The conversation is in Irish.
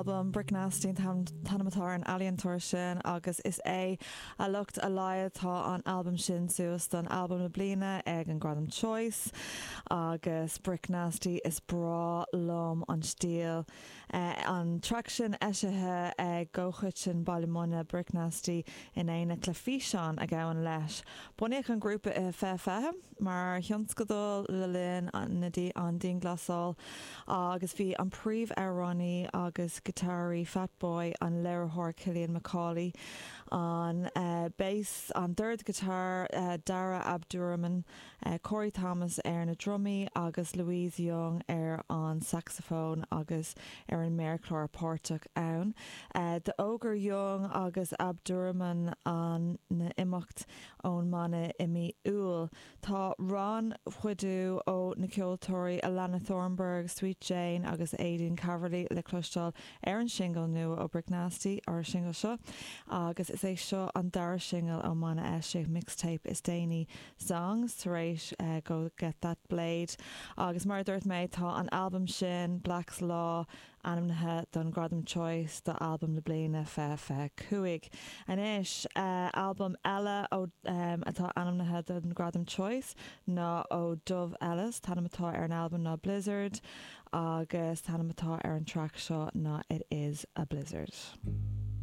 albam. Brick Nasty an t-ainm atá ar an ealaíontóir sin agus is é a lucht a laghad tá an albam sin suas don albam na bliana ag an Gradam Choice agus Brick Nasty is breá liom an stíl. An traic sin eisithe i gcomhchoiteann Baile Munna, Brick Nasty in éineacht le físeán a ghabhann leis. Bunaíodh an grúpa i 2020. mar thionscadal le linn an dianghlasáil agus bhí an príomh-amhránaí agus giotáraí Fatboy, an léiritheoir Cillian McAuley, an bass, an dordghiotár Dara Abdurrahman, Corey Thomas ar na drumaí agus Louise Young ar an sacsafón agus ar an méarchlár páirteach ann. D'fhógair Young agus Abdurrahman a n-imeacht ón mbanna i mí Iúil. Tá rannchuidiú ó na ceoltóirí Alana Thornburg, Sweet Jane agus Aideen Calverley le cloisteáil ar an singil nua ó Brick Nasty, ar an singil seo, agus is é seo an dara singil ón mbanna eisiach mixtape is déanaí, Songs, tar éis Go Get That Blade. Agus mar a dúirt mé, tá an albam sin, Black's Law, Ainmnithe don Ghradam Choice do Albam na Bliana 2025. Anois, albam eile ó atá ainmnithe don Ghradam Choice ná ó Dove Ellis. T-ainm atá ar an albam ná Blizzard agus t-ainm atá ar an traic seo ná It Is A Blizzard.